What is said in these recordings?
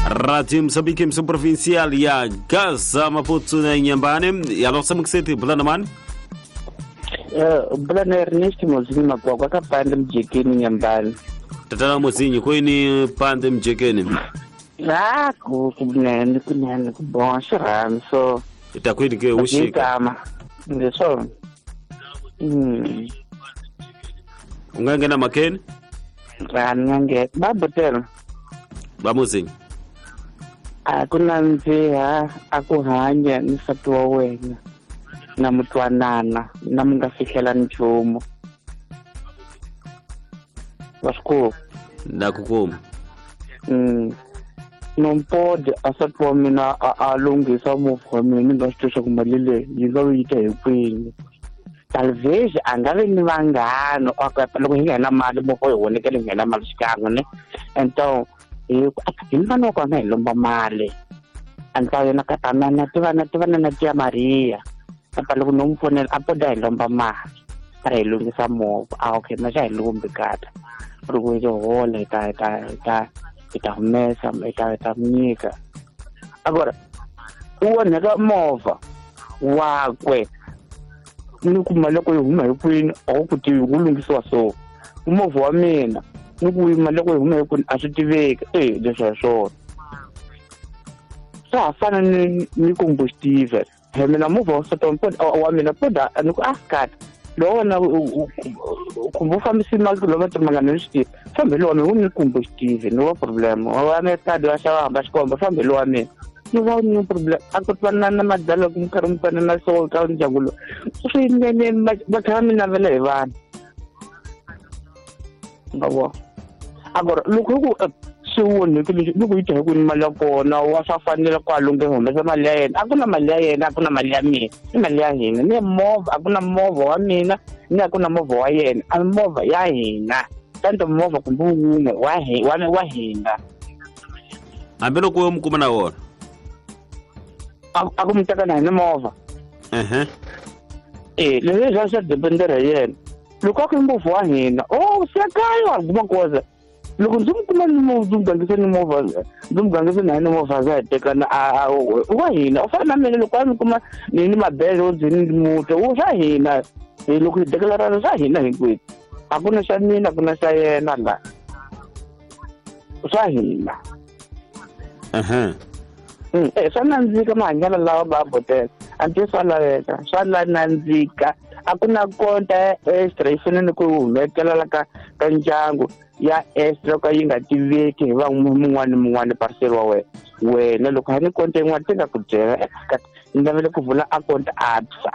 Radio Moçambique, emissão provincial ya Gaza, Maputo na Inhambane. Alô, Samuxete, Bulana mani? Bulana Ernest Mozinho Makwakwa ka Pande Mjekeni Inhambane. Tatana Mozinho, kwini Pande Mjekeni? Ah, kunene kunene kubon xirhami so. Itakwini ke ushika. Ngisho. Ungangena makeni? Ngangena. Babutela. Bamuzinho. Akunandziha akuhanya ni nsati wa wena na mutwanana na mi nga fihlela nchumu wa swi kuma na ku kuma nompodi a nsati wa mina a lunghisa movha wa mina ni nga swi twi swa ku mali leyi yi nga yi ta hi kwini talvez a nga vi ni vanghana loko hi nghena mali movha hi vonekele hi nghena mali xikan'we ne então hi mfana wa kona hi lomba mali antsa yena ka tanana tivana tivana na tia Maria apa loko no n'wi fonela a poda hi lomba mali a ri hi lunghisa movha a okay ma xa hi lombi kata loko hi hola hi ta hi ta hi ta hi ta humesa hi ta hi ta nyika agora u onheka movha wakwe ni kuma loko yi huma hi kwini a wu ku tivi ku lunghisiwa so movha wa mina ni ku mali loko yi huma hi kwini a swi tiveki e leswi hi swona swa ha fana ni combustive he mina movha wa nsati wa mina poda ni ku a kata lowu wena kumbe u fambisi mali loma timangana ni swi tivi fambe lowa mina wu ni combustive ni wa problem wa me kadi wa xava hamba xikomba fambe lowa mina ni va ni problem a ku twanana na madala ku mi karhi mi twanana so ka ndyangu lowu swinene va tlhela mi navela hi vanhu ngavo agora loko ku swi onhekile loko yi ta hi ku ni mali ya kona wa swa fanela ku a lunghe humesa mali ya yena a ku na mali ya yena a ku na mali ya mina i mali ya hina ni movha a ku na movha wa mina ni a ku na movha wa yena a movha ya hina tanto movha kumbe wun'we wa hina hambiloko yo mi kuma na wona a ku mi teka na hina movha e leswi swa swa dependera hi yena loko a ku movha wa hina o se kaya wa kuma koza loko ndzi n'wi kuma ni movha ndzi n'wi gangise ni movha ndzi n'wi gangise na ni movha za hi tekana wa hina u fana na mina loko a ni kuma ni ni mabele ndzi ni muto u swa hina hi loko hi deklarana swa hina hinkwenu a ku na xa mina a ku na xa yena la swa hina swa nandzika mahanyelo lawa va botela a nti swa laveka swa la nandzika a ku na konta ya extra yi fanele ku humekela ka ka ndyangu ya extra ka yi nga tiveki hi va mun'wana ni mun'wana parcel wa wena wena loko ha ni konta yin'wana ti nga ku byela ni navele ku vula a konta ABSA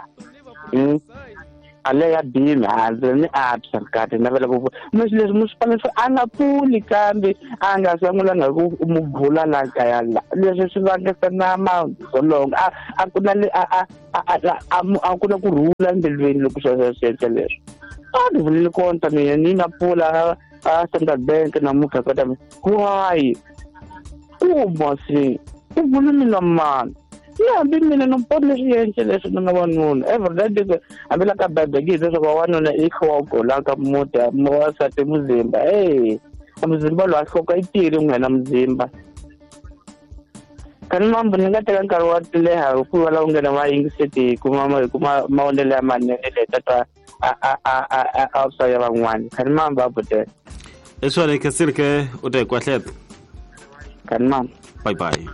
ale ya bimi handle ni ABSA kati navela ku vula mixi leswi mi swi fanele a nga pfuli kambe a nga sangulanga ku mu bula la kaya la leswi swi vangisa na madzolonga a ku na a ku na ku rhula mbilwini loko swi swi leswi a ni vulile konta mina ni na pfula a Standard Bank namuntlha kota why kuma se u vule mina mani ni hambi mina no poni leswi endle leswi na wanuna every day hambi la ka bibele yi leswaku wanuna i nhloko la ka muti wansati muzimba e muzimba lowu a nhloko yi tiyile n'wina muzimba kani mambo ni nga teka nkarhi wa leha hikuva la u nghena va yingiseti hi kuma hi kuma mavonelo ya manene leyi tata a ya van'wana kani mambo a butela leswona khensile u ta hi kwahleta kani mambo bye bye.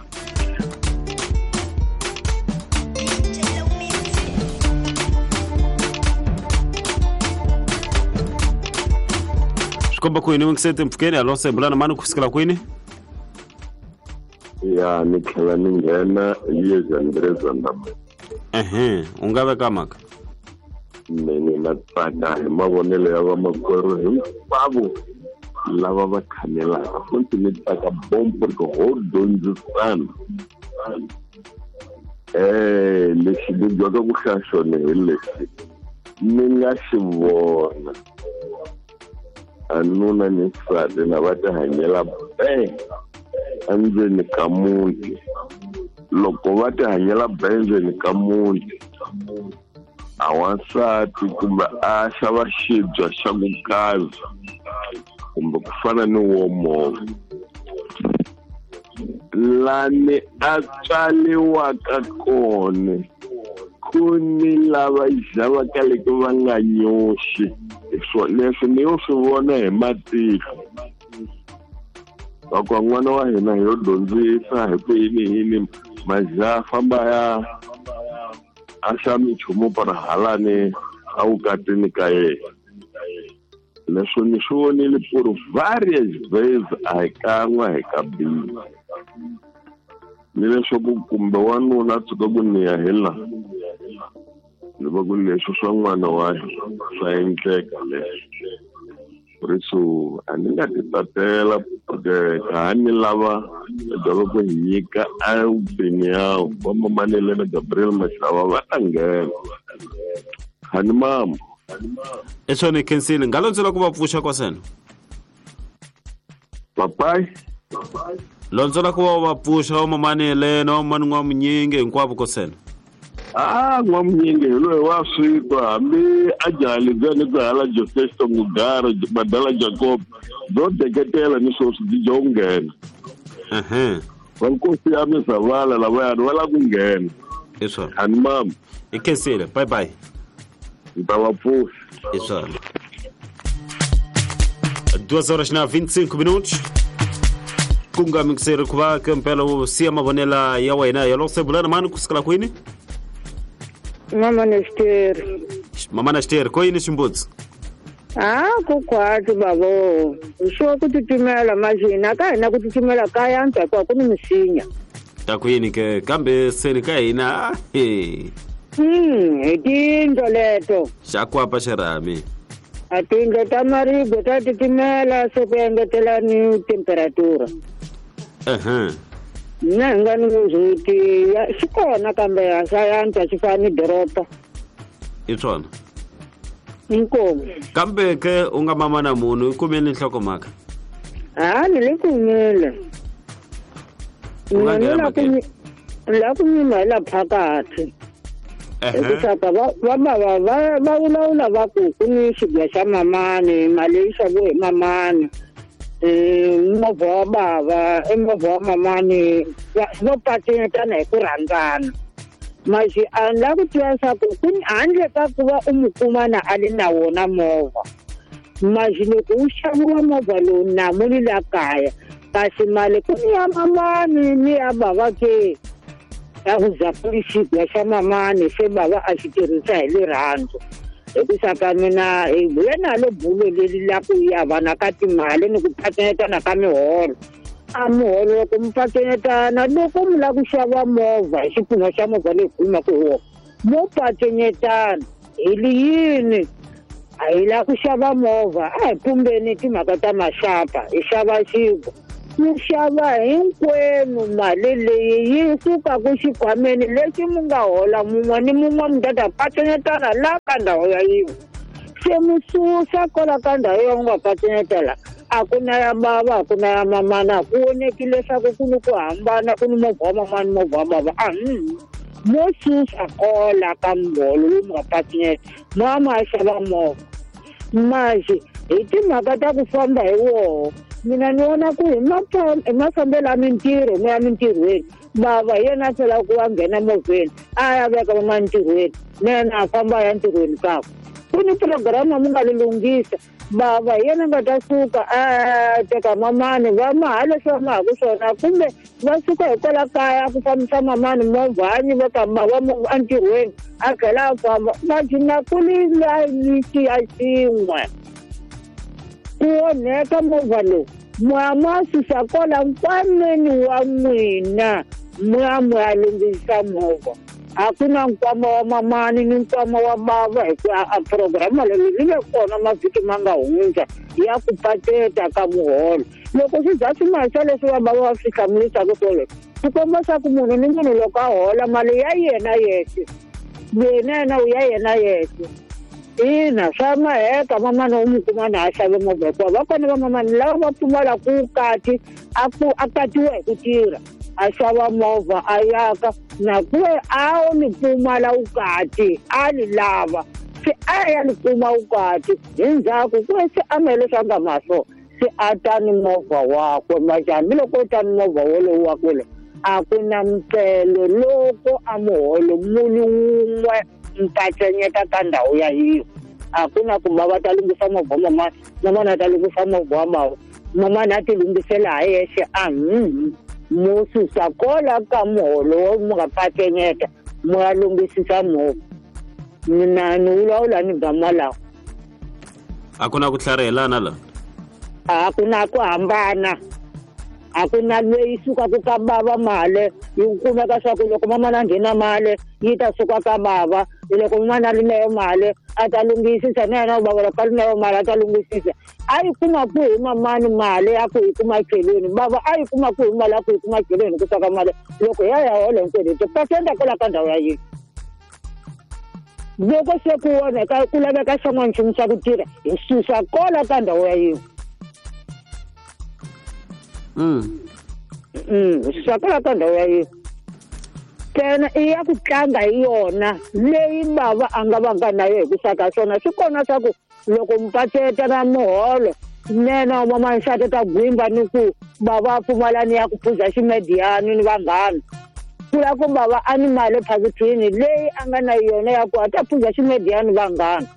Swikomba kwini wingisete mpfukeni alo sembulana mani kufikela kwini ya ni tlhela ni nghena yezandrezanda u nga veka mhaka mina na tsaka hi mavonelo ya vamakwerhu hinkwavo lava va khanelaka futhi ni tsaka bombo ri ho dyondzisana lexi ni dyaka ku hlaya xona hi lexi ni nga xi vona a nuna ni nsati na va ti hanyela be endzeni ka muti loko va ti hanyela be endzeni ka muti a wansati kumbe a xava xibya xa ku kaza kumbe ku fana ni wo movha Lani a tswariwaka kona ku ni lava xavaka loko va nga nyoxi. Leswi ni yo swi vona hi matihlo. Loko n'wana wa hina hi yo dyondzisa hi ku yini yini majaha famba ya a xa minchumu para halani a vukatini ka yena. Leswi ni swi vonile ku ri various ways a hi kan'we hi kabili. Ni leswaku kumbe wanuna a tshuka ku ni ya hi laha ni va ku leswi swa n'wana wa hina swa endleka leswi. Por isso a ni nga ti tatela porque ka ha ni lava dyava ku hi nyika a opinião va mamanele na Gabriel Mashava va ta nghena. Hani mama. Eswona khensile nga londzela ku va pfuxa kwasena. Papai londzela ku va va pfuxa va mamanele na vamani n'wamunyingi hinkwavo kosena. Ah, n'wamunyingi hi loyi wa swi twa hambi a jaha lebyiya ni ku hala Joseph Mugara Badala Jacob byo deketela ni sweswi byi dya ku nghena. Va nkosi ya Misavala lavayani va lava ku nghena. Hi swona. Hani mama. Hi khensile. Bye bye. Ni ta va pfuxa. Hi swona. 2 horas na 25 minutos. Ku nga mixeri ku va ke mpela u siya mavonela ya wena ya loko se bulana mani ku sukela kwini? Mama Nesteri. Mama Nesteri, ko yini ximbudzi? Ah, ku khwati bavo. Swo ku titimela majina ka hina ku titimela ka yantswa hikuva ku ni misinya. Ta ku yini ke kambe seni ka hina he. Hi tindlo leto. Xa kwapa xirhami. A tindlo ta maribye ta titimela se ku engetela ni temperatura. Mina hi nga ni ndzhuti xi kona kambe a xa yantswa xi fana ni doroba. Hi swona. Inkomu. Kambe ke u nga mama na munhu i kumile nhlokomhaka? Ha ni le kumile. U nga nghena mhakeni. La ku nyima hi la phakathi. Hikuva va bava va vulavula va ku ku ni xibya xa mamani mali yi xaviwe hi mamani. Movha wa bava i movha wa mamani vo patinetana hi ku rhandzana. Maxi a ni lava ku tiva leswaku ku handle ka ku va u mu kuma na a ri na wona movha. Maxi loko wu xaviwa movha lowu na mu ni la kaya kasi mali ku ni ya mamani ni ya bava ke ya ku za ku ri xibya xa mamani se bava a xi tirhisa hi rirhandzu. Hikusa ka mina hi vuya nalo bulo leri la ku ya vana ka timali ni ku patinetana ka miholo. A muholo loko mi patinetana loko mi lava ku xava movha hi xipfuno xa movha leyi khulumaka hi wona mo patinetana hi li yini a hi lava ku xava movha a hi pumbeni timhaka ta maxapa hi xava xinkwa mi xava hinkwenu mali leyi yi sukaku xikhwameni lexi mi nga hola mun'we ni mun'we mi ta ta patinetana la ka ndhawu ya yin'we se mi susa kwala ka ndhawu ya nga patinetela a ku na ya bava a ku na ya mamana ku voneki leswaku ku ni ku hambana ku ni movha wa mamani movha wa bava a mo susa kola ka muholo lowu mi nga patineta mama a xava movha maxi hi timhaka ta ku famba hi woho mina ni vona ku hi mafambelo ya mintirho mi ya mintirhweni bava hi yena a hlwela ku va nghena movheni a ya veka vama ntirhweni na yena a famba a ya ntirhweni kakwe ku ni programa mi nga li lunghisa bava hi yena nga ta suka a teka mamani va maha leswi va mahaku swona kumbe va suka hikwala kaya ku fambisa mamani movha a nyiveka bava entirhweni a tlhela a famba majina ku li layiti ya xin'we ku onheka movha lowu moya ma susa kwala nkwameni wa n'wina moya moya lunghisa movha a ku na nkwama wa mamani ni nkwama wa bava hikuva a programa leyi yi le kona mavhiki ma nga hundza ya ku pateta ka muholo loko swi za swi mahisa leswi va bava va swi hlamurisaka swoleswo swi komba swa ku munhu ni munhu loko a hola mali ya yena yexe yena yena u ya yena yexe. Ina swa maheka mamani u mu kuma na a xave movha hikuva va kona va mamani lava va pfumalaka vukati a ku a katiwa hi ku tirha a xava movha a yaka na ku ve a ni pfumala vukati a ni lava se a ya ni kuma vukati hi ndzhaku ku ve se a ma leswi a nga ma swona Se a ta ni movha wakwe manje hambiloko u ta ni movha wolowo wakwe lo a ku na mpfelo loko a muholo muni wun'we mpatsenyeta ka ndhawu ya yiwo a ku na ku bava ta lunghisa movha mamani mamani a ta lunghisa movha wa mava mamani a ti lunghisela ha yexe a mo susa kola ka muholo wo mu nga patsenyeta mu ya lunghisisa movha mina ni vulavula ni gama lawa a ku na ku tlharihelana la a ku na ku hambana a ku na leyi sukaka ka bava mali yi kumeka swa ku loko mamana a nghena mali yi ta suka ka bava loko mamana a ri na yo mali a ta lunghisisa na yena bava loko a ri na yo mali a ta lunghisisa a yi kuma kwihi mamani mali ya ku yi kuma cheleni bava a yi kuma kwihi mali ya ku yi kuma cheleni ku saka mali loko ya ya hola hinkwenu hi tipasenda kwala ka ndhawu ya yini loko se ku onheka ku laveka xin'wana nchumu xa ku tirha hi susa kola ka ndhawu ya yini susa kola ka ndhawu ya yini ntsena i ya ku tlanga hi yona leyi bava a nga vanga na yo hi ku saka swona swi kona swa ku loko mpaceta na muholo nene wa mamansati ta gwimba ni ku bava a pfumalani ya ku phuza ximediyani ni vanghana ku la ku bava a ni mali ephakithini leyi a nga na yona ya ku a ta phuza ximediyani vanghana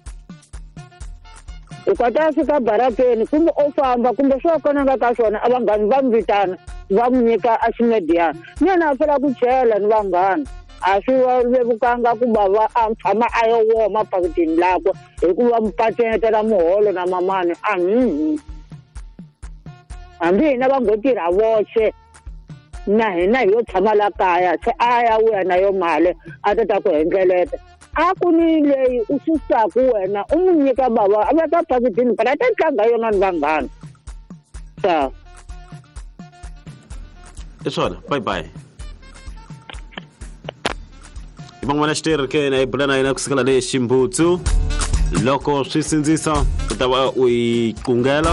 loko a ta fika barakeni kumbe o famba kumbe swo kona nga ka swona a vanghani va n'wi vitana va n'wi nyika a ximediyani ni yena a fela ku chela ni vanghana a swi vevukanga ku bava a tshama a yo woma phakithini lakwe hikuva mpatsetela muholo na mamani a hambi hina va ngo tirha voxe na hina hi yo tshama la kaya se a ya vuya na yo mali a ta ta ku hendleleta a ku ni leyi u susaku wena u n'wi nyika bava a veka phakithini phela a ta tlanga yona ni vanghana sa i swona bye bye hi van'wana xitirhi ke na hi bula na yena kusukela le ximbutsu loko swi sindzisa u ta va u yi qungela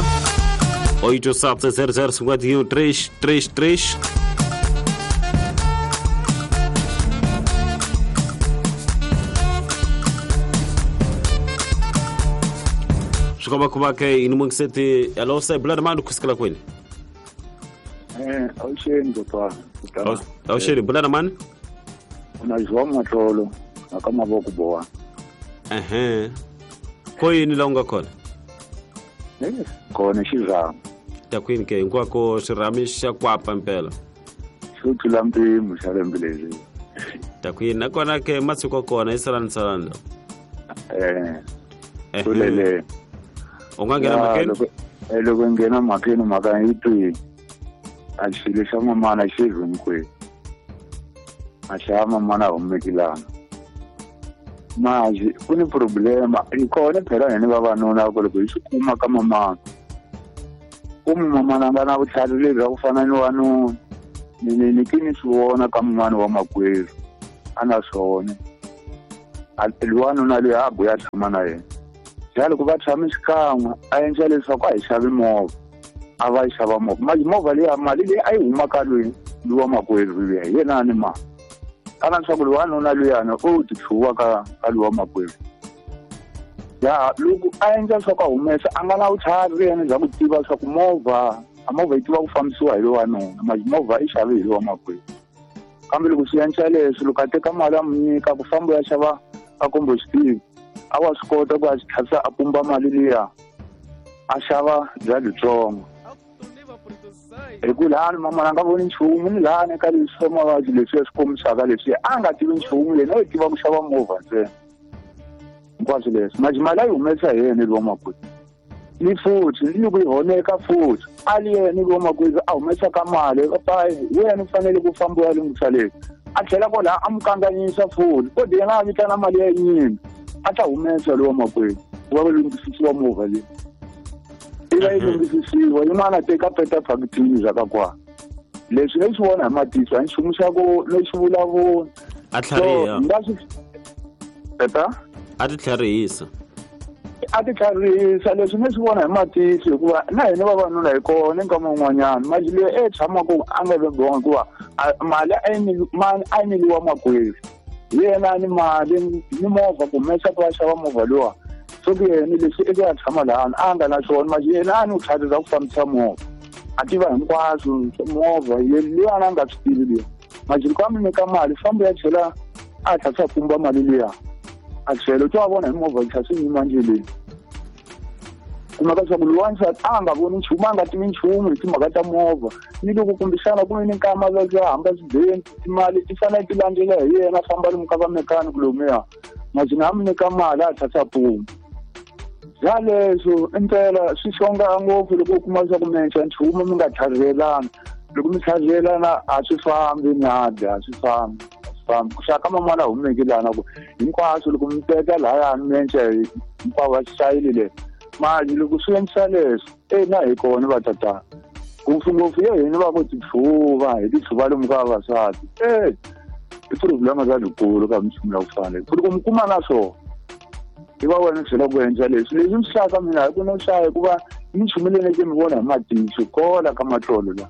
8 7 0 0 51 3 3 3 swi komba ku va ke yini mungiseti hello se bula na mani kusukela kwini awuxeni kokwana awuxeni bula na mani na João Matlolo na ka mavoko bowa ehe ko yini la u nga kona kona xirhami ta kwini ke hinkwako xirhami xa kwapa mpela xo tlula mpimo xa lembe leri ta kwini nakona ke masiku kona i salani salani lo kulele u nga nghena mhakeni loko nghena mhakeni mhaka yi twi a xilo xa mamana xi hinkwenu a xa mamana humekilana manje ku ni problema hi kona phela hina vavanuna ku loko hi swi kuma ka mamana ku mamana a nga na vutlhari lebyi bya ku fana ni wanuna ni ki ni swi vona ka mun'wana wa makwerhu a na swona wanuna loyi a buya tshama na yena ja loko va tshame xikan'we a endla leswaku a hi xavi movha a va yi xava movha mali movha leyi mali leyi a yi huma ka loyi lowa makwerhu luya hi yena a ni mali kana leswaku loyi wanuna luyani u ti tlhuva ka lowa makwerhu ya loko a endla leswaku a humesa a nga na vutlhari yena bya ku tiva leswaku movha a movha yi tiva ku fambisiwa hi lowa wanuna mali movha i xave hi lowa makwerhu kambe loko swi endla leswi loko a teka mali a mu nyika ku famba ya xava a kombo xitivi a wa swi kota ku a xi tlhasa a pumba mali liya a xava bya byitsongo hi ku lani mamana a nga voni nchumu ni lani ka leswi swa mavabyi leswi ya swi kombisaka leswi a nga tivi nchumu yena u tiva ku xava movha ntsena hinkwaswo leswi manje mali a yi humesa hi yena lowa makwerhu ni futhi ni loko yi honeka futhi a li yena lowa makwerhu a humesaka mali wena u fanele ku famba u ya lunghisa leswi a tlhela kwalaha a mu kanganyisa futhi kodwa yena a vitana mali ya yinyini a ta humesa lowa makwerhu ku va va lunghisisiwa movha leyi i va yi lunghisisiwa yin'wana teka peta phakithini bya ka kwala leswi ni swi vona hi matihlo a nchumu xa ku ni swi vulavula a tlhariha nga swi peta a ti tlharihisa a ti tlharihisa leswi ni swi vona hi matihlo hikuva na hina vavanuna hi kona nkama wun'wanyana mali leyi e tshamaka a nga vebiwanga hikuva mali a yi nyikiwa makwerhu hi yena ni mali ni movha ku humesa ku va xava movha lowa So ku yena leswi eka ya tshama lahani a nga na swona manje yena a ni ku tlhalela ku fambisa movha a tiva hinkwaswo movha liya a nga swi tivi liya manje loko a mi nyika mali fambo ya chela a tlha swa pumba mali liya a chela u twa vona hi movha yi tlha swi yima ndleleni kumeka leswaku lowa a nga voni nchumu a nga tivi nchumu hi timhaka ta movha ni loko kumbexana ku ni nkama va hamba swibeni timali ti fanele ti landzela hi yena a famba lomu ka va mechanic lomuya majina a mi nyika mali a tlha puma bya leswo impela swi xonga ngopfu loko u kuma leswaku mi endla nchumu mi nga tlhavelana loko mi tlhavelana a swi fambi nadi a swi fambi ku xaka man'wana humeke lana ku hinkwaswo loko mi teka lahayani mi endla hinkwavo va xitayili le mali loko swi endlisa leswo e na hi kona va tatana ngopfungopfu ye hina va ku titlhuva hi titlhuva lomu ka vavasati e i problema za likulu ka minchumu ya ku fana ku loko mi kuma na swona i va wena byela ku endla leswi leswi mi hlaka mina hi ku no hlaya hikuva minchumu leyi neke mi vona hi matihlo kola ka matlolo la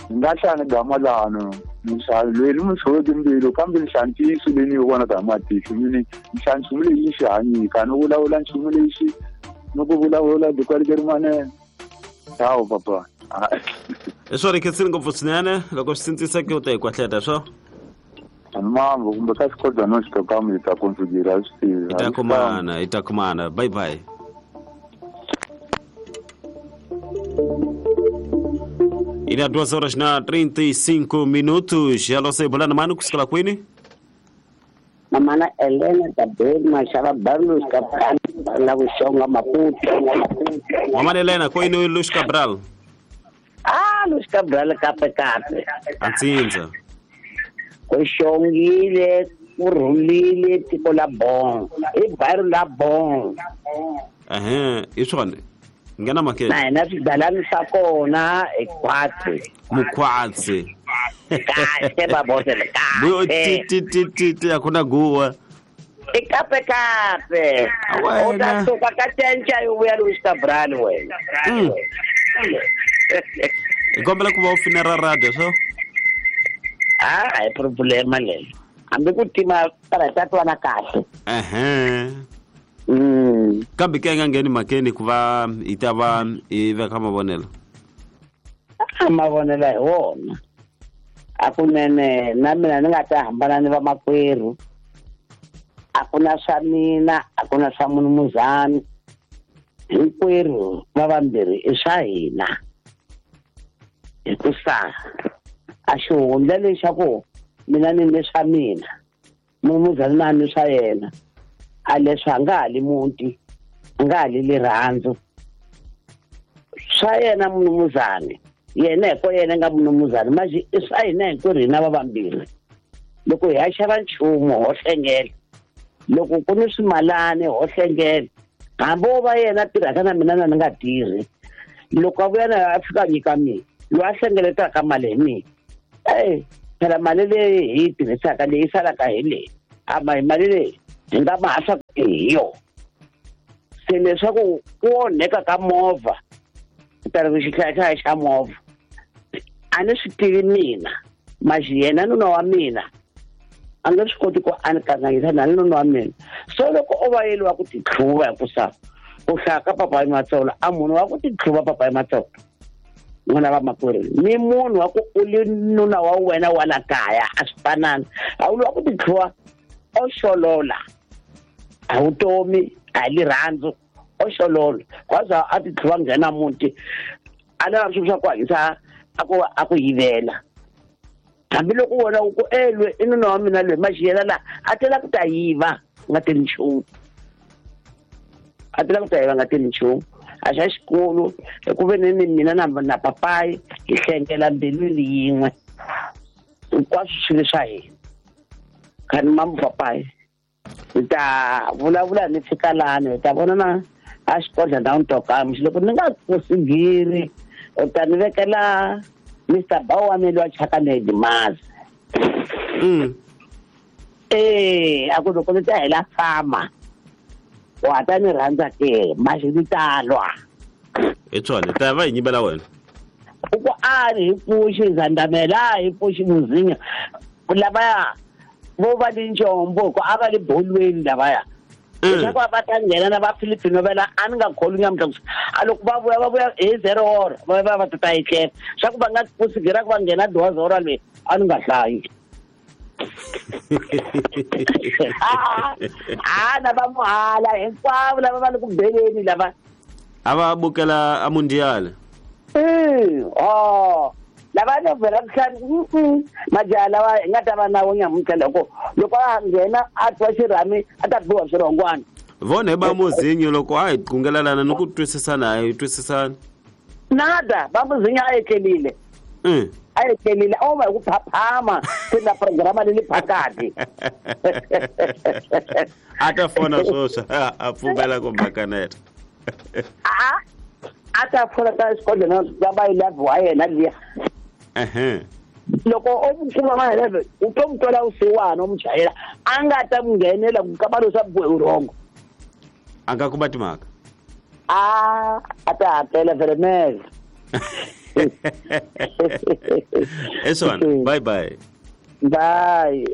ni nga hlaya ni gama lano ni hlaya loyi ni mi tshoveke mbilu kambe ni hlaya ntiyiso leyi ni yi vonaka hi matihlo mini ni hlaya nchumu leyi yi xi hanyika ni vulavula nchumu leyi xi ni ku vulavula dikwalike rin'wanene ciao papa hi swona khensini ngopfu swinene loko swi sindziseke u ta hi kwahleta swo mambo kumbe ka xikodwa no xitokamu hi ta konsugira swi tivi hi ta kumana hi ta kumana bye bye Ina 2 horas na 35 minutos. Alô, sei bolana mano kusukela kwini? Mamana Elena Tabel Mashava Barlos Cabral la Vuxonga Maputo. Mamana Elena kwini Luis Cabral? Ah, Luis Cabral kape kape. Atsinza. Kuxongile, kurhulile tiko la bon. I bairro la bon. Ehe, i swona. Ngena makete. Na hina swigalani swa kona i khwatsi. Mukhwatsi. Kahle babosele kahle. Ti ti ti ti akuna guwa. I kape kape. U ta suka ka cenca yi vuya Luis Cabral wena. Hi kombela ku va u finera radio swo? Ah, a hi problema leyo. Hambi ku tima para ta twana kahle. Ehe. Kambe ke nga ngheni makeni ku va hi ta va hi veka mavonelo. A mavonelo hi wona. A kunene na mina ni nga ta hambana ni vamakwerhu. A ku na swa mina, a ku na swa munumuzani. Hinkwerhu va vambirhi i swa hina. Hikusa a xihundla lexaku mina ni ni swa mina, munumuzani na ni swa yena. A leswi a nga ha li muti, a nga ha li rirhandzu. Swa yena munumuzani, yena hi ko yena nga munumuzani, manje i swa hina hinkwerhu hina va vambirhi. Loko hi ya xava nchumu ho hlengela, loko ku ni swimalani ho hlengela, hambi wo va yena a tirhaka na mina na ni nga tirhi, loko a vuya na a fika a nyika mina, loyi a hlengeletaka mali hi mina. Ey, phela mali leyi hi yi tirhisaka leyi salaka hi leyi, a ma hi mali leyi hi nga mahasa hi yo. Se leswaku ku onheka ka movha, ta ri xihlayahlaya xa movha, a ni swi tivi mina, manje yena nuna wa mina a nga swi koti ku a ni kanganyisa na nuna wa mina. So loko o va yeliwa ku titlhuva hikusa ku hlaya ka papayi Matsolo, a munhu wa ku titlhuva papayi Matsolo n'wana va makwerhu ni munhu wa ku u li nuna wa wena wa la kaya a swi fanani. A wu wa ku titlhuva o xolola, a vutomi a hi rirhandzu, o xolola kwaza a titlhuva nghena muti a lava swilo swa ku hanyisa a ku yivela. Hambiloko wona u ku elwe i nuna wa mina loyi maxiyela la a tela ku ta yiva nga teli nchumu, a tela ku ta yiva nga teli nchumu. A xa xikolo hi ku ve ni mina na papayi hi hlengela mbilwini yin'we hinkwaswo swilo swa hina. Khani mamu papayi hi ta vulavula ni fika lani hi ta vona na a xikodla ndhawu ni tokamu loko ni nga kusigiri u ta ni vekela Mr. Bawa mi loyi a chaka ni Dimazi. A ku loko ni ta hela fama wa ta ni rhandza ke manje ni ta lwa. Hi swona ta va hi nyimela wena. U ku a ni hi pfuxi Zandamela, hi pfuxi Muzinya lavaya vo va ni njombo ku a va le bolweni lavaya Leswaku va ta nghena na va Filipino vela a ni nga kholwi nyamuntlha a loko va vuya hi 0 hora va va va ta etlela swa ku va nga kusigira ku va nghena 12 hora leyi a ni nga hlayi. A na va muhala hinkwavo lava va le ku beleni lava a va bukela a mundial. Lava no vhela kuhlani majaha lawa hi nga ta va na wo nyamuntlha loko a nghena a twa xirhami a ta biwa swirhongwana. Vona hi ba muzinyo loko a hi qungelelana ni ku twisisana a hi twisisana. Nada ba muzinyo a etlelile. A etlelile a va hi ku phaphama se na programa le phakati. A ta fona swoswa a pfumela ku mhakaneta. A ta fona ta xikodlhela va ba 11 wa yena liya. Loko o kuma ma 11 u to mu twela vusiwana u mu chayela a nga ta mu nghenela ku kamba leswa vurhongo. A nga kuma timhaka. A ta hakela veremele. Eswana, bye bye. Bye.